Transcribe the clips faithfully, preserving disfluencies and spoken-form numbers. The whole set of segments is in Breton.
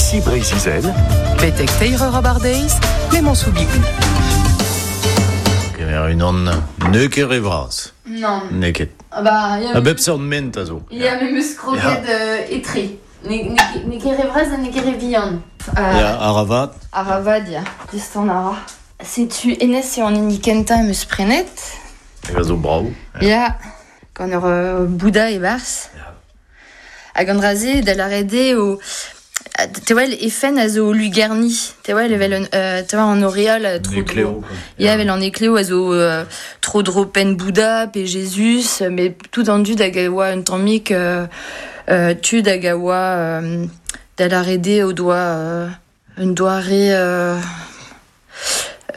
Ici Breizh-Izel. Betek teir eur abardeiz, Clément Soubigou. Kemer unan ne ket re vras. Non. Ne ket. Ah bah, ya A bep seurt ment a zo. Ya, me meus kroget euh, etre. Ne, ne, ne ket re vras ha ne ket re vihan. Euh, Ya, aravat. Aravad, ya. Just an ara. Setu enez eo an hini kentañ em eus prenet. Hag a zo brav. Ya, gant ur euh, Bouddha e barzh. Ya. Hag an dra-se da lâret eo... Te wel, e fenn a zo lugerni. Te wel, evel un, euh, te wel an auréole euh, tro Ekleo. dro. Ya, evel an ekleo a zo euh, tro dro penn Bouddha pe Jésus, mais tout an dud hag a oa un tammig euh, euh, tud hag a oa euh, da lâret eo o doa euh, un doare euh,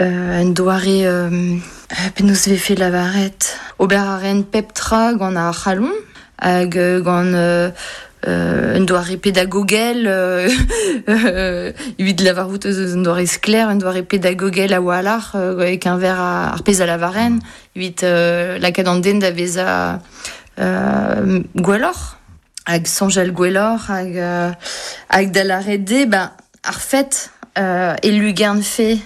euh, un doare euh, penaos vefe lavaret. Ober a ren pep tra gant ar c'halon hag euh, gant euh, euh, un doare pédagogel euh, euh, evit lavarout eus un doare sklaer, un doare pédagogel a oa euh, e keñver ar, ar pezh a lavaren, evit euh, lakaat an den da vezañ euh, gwelloc'h, hag soñjal gwelloc'h, hag, euh, hag da lâret dezhe, ben, ar fet euh, e lugern fe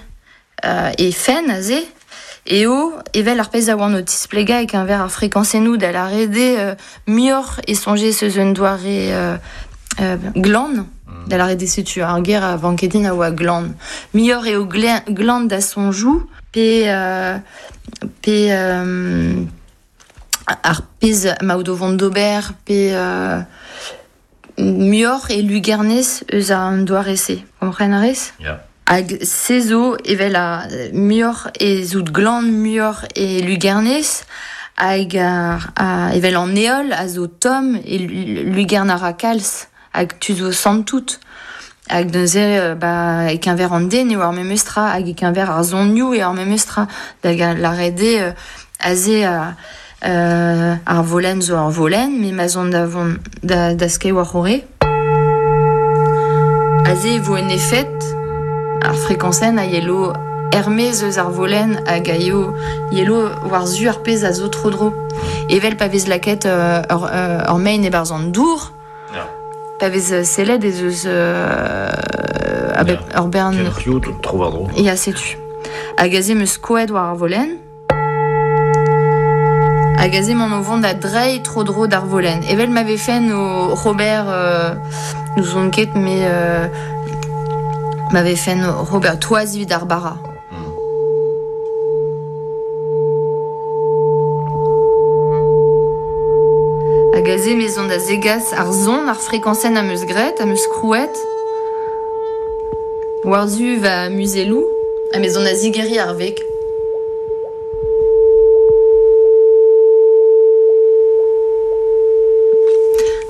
euh, e fenn aze, eo evel ar pezh a oan o tisplegañ e keñver ar frekañsennoù da lâret dezhe euh, muioc'h e soñje eus un doare euh, euh, glan, da lâret dezhe setu ar ger a vanke din a oa glan. Muioc'h eo glen, glan da soñjoù pe, euh, pe euh, ar pezh ma out o vont d'ober pe euh, muioc'h e lugernez eus an doare-se. Kompren a rez? Ya. Hag se zo evel a muioc'h e zout glan muioc'h e lugernez hag ar, a, evel an heol a zo tomm e lugern a ra kalz hag tu zo santout. Hag neuze, ba, e keñver an den eo ar memes tra hag e keñver ar zonioù eo ar memes tra da lâret eo euh, aze a, euh, ar volenn zo ar volenn, me ma zon da vont da, da skeiñ war c'horre. Aze e vo en efed ar frekañsenn a yelo er-maez eus ar volenn hag a yo yelo war zu ar pezh a zo tro-dro. Evel pa vez lakaet euh, ur, euh, ur mein e-barzh an dour, Ya. pa vez sellet ez eus euh, a bep Ya. ur bern... Kelc'hioù tro war dro. Ya, setu. Hag aze 'm eus skoet war ar volenn. Hag aze m'en o vont da dreiñ tro-dro d'ar volenn. Evel ma vefen o Robert euh, n'ouzon ket, mais euh, ma vefen o Robert toaz evit ar bara. Hag aze me zon da zegas ar zon ar frekañsenn am eus graet, am eus krouet. War-zu va muzelloù, ha me zon da zigeriñ ar veg.